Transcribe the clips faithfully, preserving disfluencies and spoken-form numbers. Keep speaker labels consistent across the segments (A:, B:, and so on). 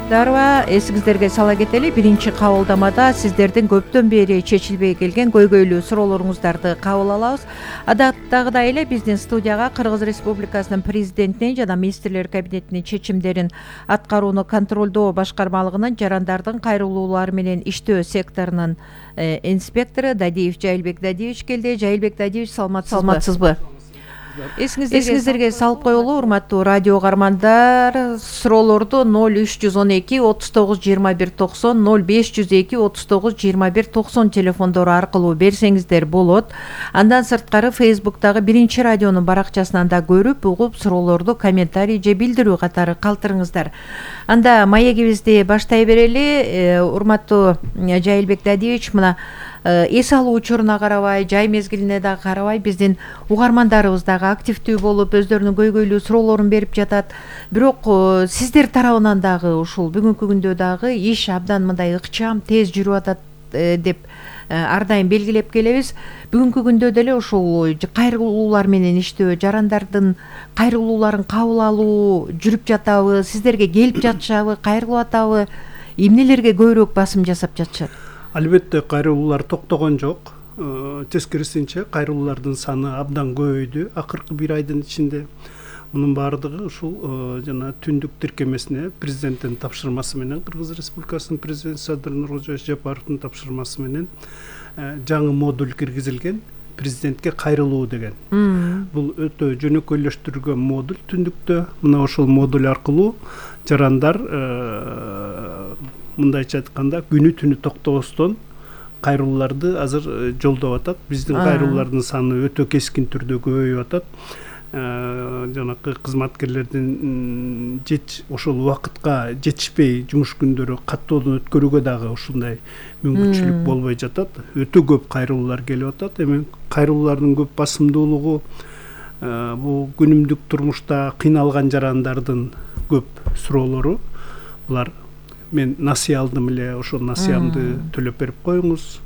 A: Дарба, эсиңиздерге сала кетели, биринчи кабылдамада сиздердин көптөн бери чечилбей келген көйгөйлүү суроолоруңуздарды кабыл алабыз. Адаттагыдай эле биздин студияга Кыргыз Республикасынын президентинин жана министрлер кабинетинин чечимдерин аткарууну контролдоо башкармалыгынын жарандардын кайрылуулары менен иштөө секторунун инспектору Дадиев Жайылбек Дадиевич келди. Жайылбек Дадиевич, саламатсызбы? Эсиңиздерге салып коелу, урматтуу радио каармандар, суроолорду ноль үч жүз он эки отуз тогуз жыйырма бир токсон, ноль беш жүз эки отуз тогуз жыйырма бир токсон телефондору аркылуу берсеңиздер болот. Андан сырткары Фейсбуктагы биринчи радионун баракчасынан да көрүп, угуп, суроолорду комментарий же билдирүү катары калтырыңыздар. Анда маегибизди баштай берели. Урматтуу Жайылбек Дадиевич, мына эс алуу учуруна карабай, жай мезгилине да карабай, биздин угармандарыбыз дагы активдүү болуп, өздөрүнүн көйгөйлүү суроолорун берип жатат. Бирок сиздер тарабынан дагы ушул бүгүнкү күндө дагы иш абдан мындай ыкчам, тез жүрүп атат деп ар дайым белгилеп келебиз. Бүгүнкү күндө деле ушул кайрылуулар менен иштөө, жарандардын кайрылууларын кабыл алуу жүрүп жатабы, сиздерге келип жатышабы, кайрылып атабы, эмнелерге көбүрөөк басым жасап жатышат?
B: Албетте кайрылуулар токтогон жок. Тескерисинче кайрылуулардын саны абдан көбөйдү акыркы бир айдын ичинде. Мунун баардыгы ушул жана түндүк тиркемесине президенттин тапшырмасы менен, Кыргыз Республикасынын президенти Садыр Нуркожоевич Жапаровдун тапшырмасы менен жаңы модуль киргизилген, президентке кайрылуу деген. Бул өтө жөнөкөйлөштүрүлгөн модуль түндүктө. Мына ошол модуль аркылуу жарандар мындайча айтканда күнү түнү токтобостон кайрылууларды азыр жолдоп атат. Биздин кайрылуулардын саны өтө кескин түрдө көбөйүп атат. Жанакы кызматкерлердин жетиш ошол убакытка жетишпей жумуш күндөрү каттоодон өткөрүүгө дагы ушундай мүмкүнчүлүк болбой жатат. Өтө көп кайрылуулар келип атат. Эми кайрылуулардын көп басымдуулугу бул күнүмдүк турмушта кыйналган жарандардын көп суроолору. Булар: мен насыя алдым эле, ошол насыямды төлөп берип коюңуз.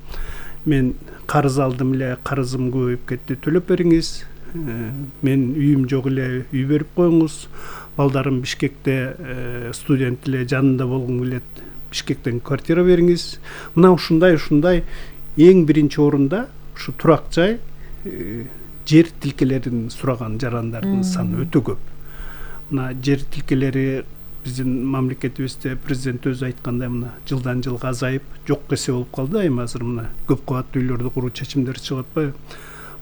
B: Мен карыз алдым эле, карызым көбөйүп кетти, төлөп бериңиз. Мен үйүм жок эле, үй берип коюңуз. Балдарым Бишкекте студент эле, жанында болгум келет, Бишкектен квартира бериңиз. Мына ушундай ушундай эң биринчи орунда ушу турак жай, жер тилкелерин сураган жарандардын саны өтө көп. Мына жер тилкелери биздин мамлекетибизде президент өзү айткандай, мына жылдан жылга азайып, жок эсе болуп калды. Эми азыр мына көп кабаттуу үйлөрдү куруу чечимдери чыгып атпайбы?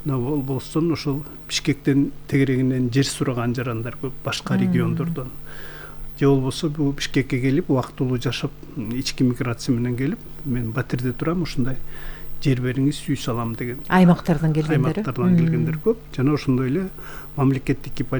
B: Мына болбостон ошол Бишкектен тегерегинен жер сураган жарандар көп, башка региондордон. Же болбосо бул Бишкекке келип, убактылуу жашап, ички миграция менен келип, мен Батирде турам, ушундай жер бериңиз, үй салам деген.
A: Аймактардан келгендер.
B: Аймактардан келгендер көп. Жана ошондой эле мамлекеттик